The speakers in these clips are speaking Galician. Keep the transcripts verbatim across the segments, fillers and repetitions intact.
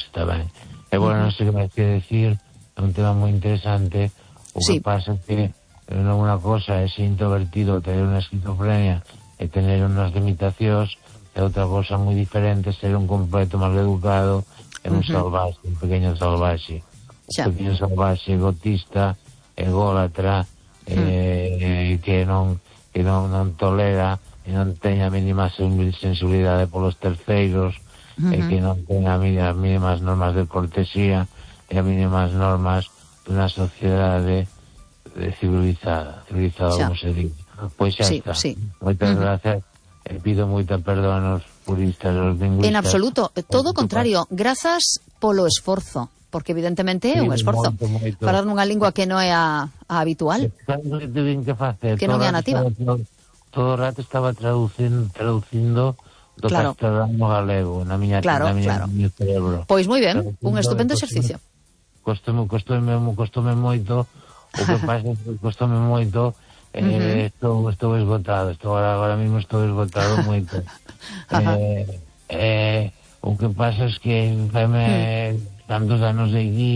está ben. E, bueno, non sei que me quer decir, é un tema moi interesante. O que sí. pasa é que non unha cosa é ser introvertido, tener unha esquizofrenia e tener unhas limitacións, e outra cosa moi diferente ser un completo mal educado e un uh-huh. salvaxe, un pequeño salvaxe. Un pequeño salvaxe egotista, ególatra, uh-huh. eh, que non que non, non tolera e non teña a mínima sensibilidade polos terceiros, uh-huh. e que non teña as mínimas normas de cortesía e as mínimas normas dunha sociedade civilizada, civilizada xa. Como se dice. Pois xa sí, está. Sí. Moitas uh-huh. gracias e pido moita perdón aos puristas, aos lingüistas. En absoluto, todo o contrario, grazas polo esforzo, porque evidentemente é sí, un esforzo. Moito, moito. Falar nunha lingua que non é a, a habitual. Que facer. Que non é a nativa. Todo, todo o rato estaba traducindo, traducindo do claro. castelano galego na miña, claro, na miña, claro. miño cerebro. Pois moi ben, un estupendo exercicio. Costome, costome, costome moito, o que pasa é que costome moito, eh, uh-huh. estou, estou esgotado, estou agora, agora mismo estou esgotado moito. eh, eh, o que pasa é que faime uh-huh. tantos anos de aquí,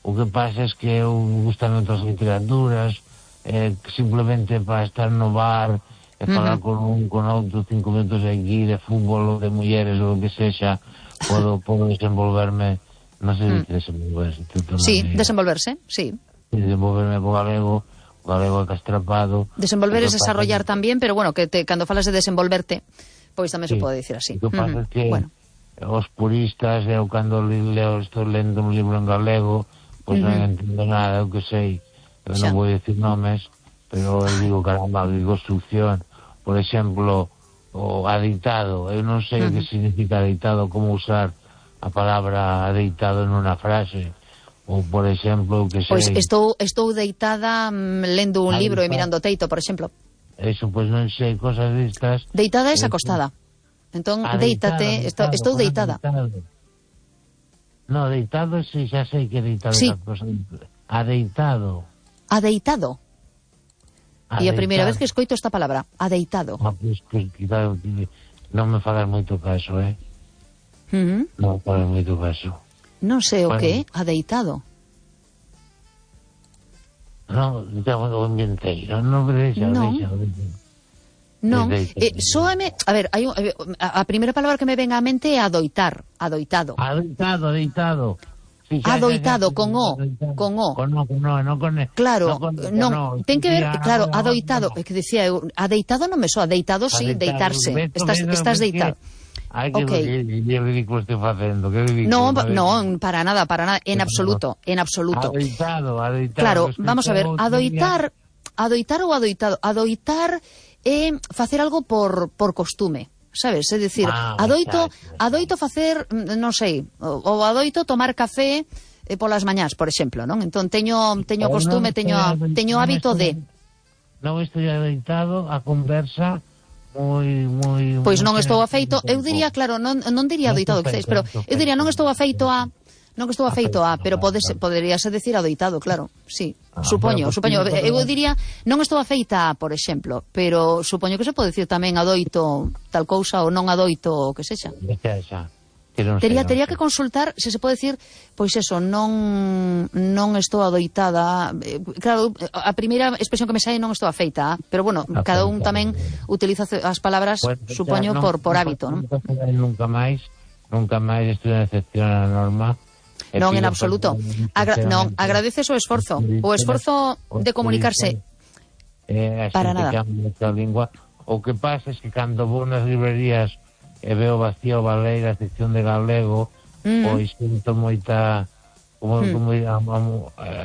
o que pasa é que eu gustan outras literaturas, eh, simplemente para estar no bar e falar uh-huh. con un, con outro cinco minutos aquí de fútbol ou de mulleres ou o que sexa, podo, podo desenvolverme, non sei uh-huh. se desenvolverse. Sí, manera. desenvolverse, sí. Desenvolverme po galego, o galego castrapado. Desenvolver es desarrollar que... tamén, pero bueno, que te, cando falas de desenvolverte, pois tamén sí. se pode dicir así. O que pasa uh-huh. é que bueno. os puristas, eu cando leo, estou lendo un libro en galego, pois uh-huh. non entendo nada, eu que sei, eu non vou dicir nomes, pero eu digo, caramba, digo construcción, por exemplo, o adeitado, eu non sei uh-huh. o que significa adeitado, como usar a palabra adeitado en unha frase, ou, por exemplo, o que sei... Pois estou, estou deitada mm, lendo un adeitado. Libro e mirando o teito, por exemplo. Eso, pois non sei, cosas destas... Deitada é acostada. Entón, deítate, estou, estou deitada. Deitado. No, deitado, sí, xa sei que deitado sí. é cosa. Adeitado. Adeitado. E a primeira vez que escoito esta palabra, adeitado. Ah, pues, que, que, que, non me fagas moito caso, eh? Uh-huh. Non me fagas moito caso. Non sei o bueno. que, adeitado. Non, xa o inventei, non me deixa, non. deixa, deixa. Non, eh, soame, a ver, hai un, a, a primeira palabra que me ven á mente é adoitar, adoitado. Adoitado, adoitado. Sí, xa, adoitado, xa, xa, con o, adoitado. con o. Con o, con o, non con e. Claro, non, con, non, con ten que ver, no, claro, no, adoitado, no. é que dicía eu, adeitado non me soa, adeitado sí, adeitado, deitarse, beto, estás, beto, estás deitado. Ai, que, okay. que, que, que ridículo estou facendo, que ridículo. No, no, para nada, para nada, en absoluto, en absoluto. Adoitado, adoitado. Claro, vamos a ver, adoitar, adoitar ou adoitado, adoitar é facer algo por, por costume. Sabes? É dicir, ah, adoito, adoito facer, non sei, ou adoito tomar café eh, polas mañás, por exemplo, non? Entón teño teño costume, teño teño hábito de non estou adoitado a conversa moi moi Pois non estou afeito, eu diría, claro, non non diría adoitado, que pero eu diría non estou afeito a non que estou afeito a, pero podes, poderíase decir adoitado, claro, sí, ah, supoño, bueno, supoño, eu diría, non estou afeita a, por exemplo, pero supoño que se pode dicir tamén adoito tal cousa ou non adoito o que sexa. Xa, xa. Tería, tería que consultar se se pode decir, pois eso, non non estou adoitada, claro, a primeira expresión que me sai non estou afeita, pero bueno, cada un tamén utiliza as palabras, pues, supoño, non, por, por non, hábito, non? Nunca máis, nunca máis estou en excepción a norma. Non, en absoluto. Agra non, agradeces o esforzo, o esforzo de comunicarse. Eh, para nada. Lingua. O que pasa é que cando vou nas librerías e veo vacío Baleira, a sección de galego, mm. pois sinto moita, como, mm. como am, am,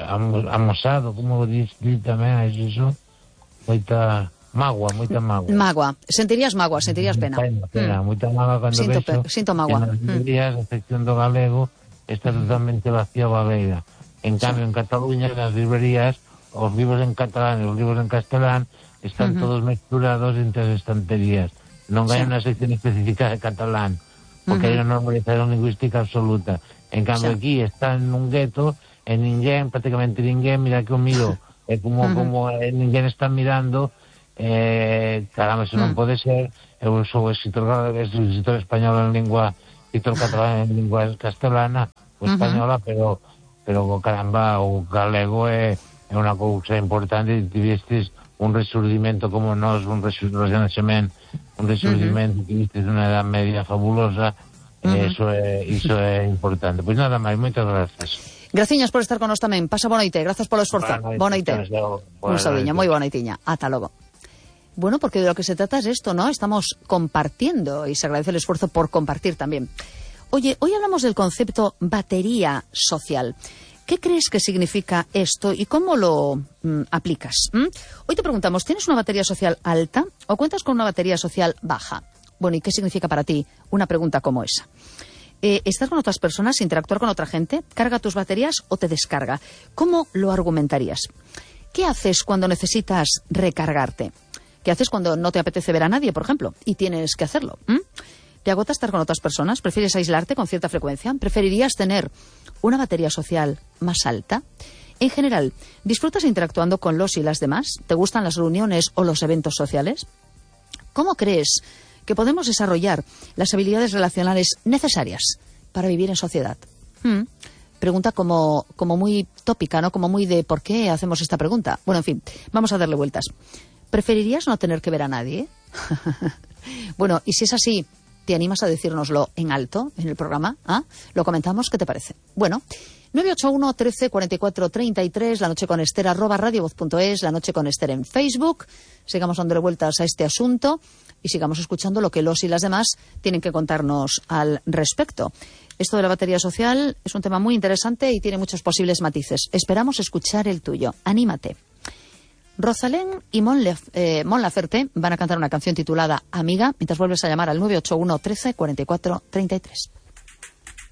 am, amosado, como diz tamén, iso, moita magua, moita magua. Magua, sentirías magua, sentirías pena. Pena, pena, mm. moita magua cando sinto, vexo sinto magua. que nas librerías, a sección do galego, está totalmente vacía Baleira. En cambio, sí. en Cataluña, nas librerías, os libros en catalán e os libros en castelán están uh-huh. todos mezclados entre as estanterías. Non hai sí. unha sección específica de catalán, porque uh-huh. hai unha normalización lingüística absoluta. En cambio, sí. aquí está en un gueto, e ninguén, prácticamente ninguén, mira que o miro, é como, uh-huh. como eh, ninguén está mirando, eh, caramba, se non uh-huh. pode ser, eu sou escritor, escritor español en lingua hizo el catalán en lengua castellana o española, uh-huh. pero pero caramba, o galego es una cosa importante, y tuviste un resurgimiento como nos, un resurgimiento, un resurgimiento, uh-huh. tuviste una edad media fabulosa, uh-huh. eso es, eso es importante. Pues nada máis, moitas gracias. Graciñas por estar con nos tamén. Pasa boa noite, grazas polo esforzo. Boa noite. Un saudiño, moi boa noitiña. Ata logo. Bueno, porque de lo que se trata es esto, ¿no? Estamos compartiendo y se agradece el esfuerzo por compartir también. Oye, hoy hablamos del concepto batería social. ¿Qué crees que significa esto y cómo lo mm, aplicas? ¿Mm? Hoy te preguntamos, ¿tienes una batería social alta o cuentas con una batería social baja? Bueno, ¿y qué significa para ti una pregunta como esa? Eh, ¿Estás con otras personas, interactuar con otra gente? ¿Carga tus baterías o te descarga? ¿Cómo lo argumentarías? ¿Qué haces cuando necesitas recargarte? ¿Qué haces cuando no te apetece ver a nadie, por ejemplo, y tienes que hacerlo? ¿Mm? ¿Te agota estar con otras personas? ¿Prefieres aislarte con cierta frecuencia? ¿Preferirías tener una batería social más alta? En general, ¿disfrutas interactuando con los y las demás? ¿Te gustan las reuniones o los eventos sociales? ¿Cómo crees que podemos desarrollar las habilidades relacionales necesarias para vivir en sociedad? ¿Mm? Pregunta como, como muy tópica, ¿no? Como muy de ¿por qué hacemos esta pregunta? Bueno, en fin, vamos a darle vueltas. ¿Preferirías no tener que ver a nadie? Bueno, y si es así, ¿te animas a decírnoslo en alto en el programa? ¿Ah? ¿Lo comentamos? ¿Qué te parece? Bueno, nueve ocho uno, trece, cuarenta y cuatro, treinta y tres, la noche con Esther, arroba radiovoz punto es, la noche con Esther en Facebook. Sigamos dándole vueltas a este asunto y sigamos escuchando lo que los y las demás tienen que contarnos al respecto. Esto de la batería social es un tema muy interesante y tiene muchos posibles matices. Esperamos escuchar el tuyo. Anímate. Rosalén y Mon, Lef, eh, Mon Laferte van a cantar una canción titulada Amiga, mientras vuelves a llamar al nueve ocho uno, trece, cuarenta y cuatro, treinta y tres.